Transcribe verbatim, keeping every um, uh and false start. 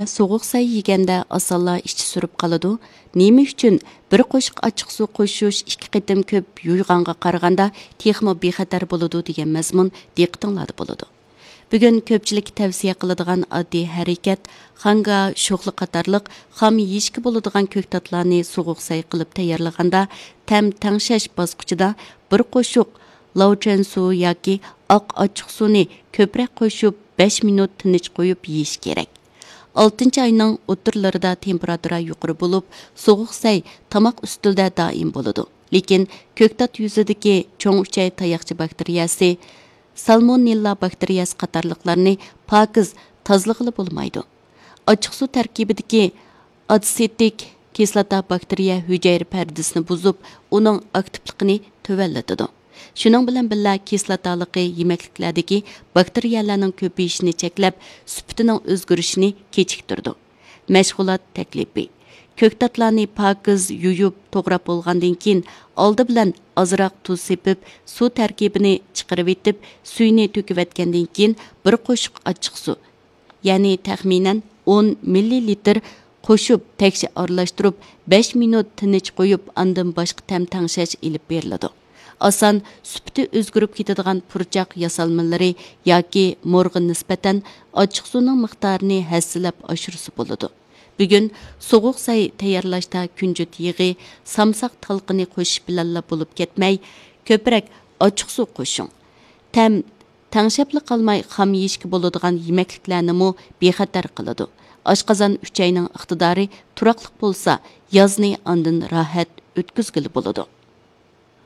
سوغۇق سەي يېگەندە ئاسانلا ئىچى سۈرۈپ قالىدۇ. نېمە ئۈچۈن بىر قوشۇق ئاچچىق سۇ قوشۇش ئىككى قېتىم كۆپ يۇيغانغا قارىغاندا تېخىمۇ بىخەتەر بولىدۇ دېگەن مەزمۇن دىققىتىڭلاردا بولىدۇ. بۈگۈن كۆپچىلىككە تەۋسىيە قىلىدىغان ئاددىي ھەرىكەت، خاڭگا، شوخلا قاتارلىق خام يېيىشكە بولىدىغان كۆكتاتلارنى سوغۇق سەي قىلىپ تەييارلىغاندا، تەم تەڭشەش باسقۇچىدا بىر قوشۇق لاۋچەن سۇ ياكى ئاق ئاچچىق سۇنى كۆپرەك قوشۇپ، بەش مىنۇت تىنچ قويۇپ يېيىش كېرەك. ئالتىنچى ئاينىڭ ئوتتۇرىلىرىدا تېمپېراتۇرا يۇقىرى بولۇپ، سوغۇق سەي تاماق ئۈستىلىدە دائىم بولىدۇ. لېكىن كۆكتات يۈزىدىكى چوڭ ئۈچەي تاياقچە باكتېرىيەسى، سالمونېللا باكتېرىيەسى قاتارلىقلارنى پاكىز تازىلىغىلى بولمايدۇ. ئاچچىق سۇ تەركىبىدىكى ئاتسېتىك كىسلاتا باكتېرىيە ھۈجەيرە پەردىسىنى بۇزۇپ، ئۇنىڭ ئاكتىپلىقىنى تۆۋەنلىتىدۇ. شۇنىڭ بىلەن بىللە، كىسلاتالىقى يېمەكلىكلەردىكى باكتېرىيەلەرنىڭ كۆپىيىشىنى چەكلەپ، سۈپىتىنىڭ ئۆزگىرىشىنى كېچىكتۈرىدۇ. مەشغۇلات تەكلىپى. كۆكتاتلارنى پاكىز يۇيۇپ، توغراپ بولغاندىن كېيىن، ئالدى بىلەن ئازراق تۇز سېپىپ، سۇ تەركىبىنى چىقىرىۋېتىپ، سۈيىنى تۆكۈۋەتكەندىن كېيىن، بىر قوشۇق ئاچچىق سۇ، يەنى تەخمىنەن ئون مىللىلىتىر قوشۇپ، تەكشى ئارىلاشتۇرۇپ، بەش مىنۇت تىنچ قويۇپ، ئاندىن باشقا تەم تەڭشەش ئېلىپ بېرىلىدۇ. ئاسان سۈپىتى ئۆزگىرىپ كېتىدىغان پۇرچاق ياسالمىلىرى ياكى مورغا نىسبەتەن ئاچچىق سۇنىڭ مىقدارىنى ھەسسىلەپ ئاشۇرسا بولىدۇ. بۈگۈن سوغۇق سەي تەييارلاشتا كۈنجۈت يېغى، سامساق تالقىنى قوشۇش بىلەنلا بولۇپ كەتمەي، كۆپرەك ئاچچىق سۇ قوشۇڭ. تەم تەڭشەپلا قالماي، خام يېيىشكە بولىدىغان يېمەكلىكلەرنىمۇ بىخەتەر قىلىدۇ. ئاشقازان ئۈچەينىڭ ئىقتىدارى تۇراقلىق بولسا، يازنى ئاندىن راھەت ئۆتكۈزگىلى بولىدۇ.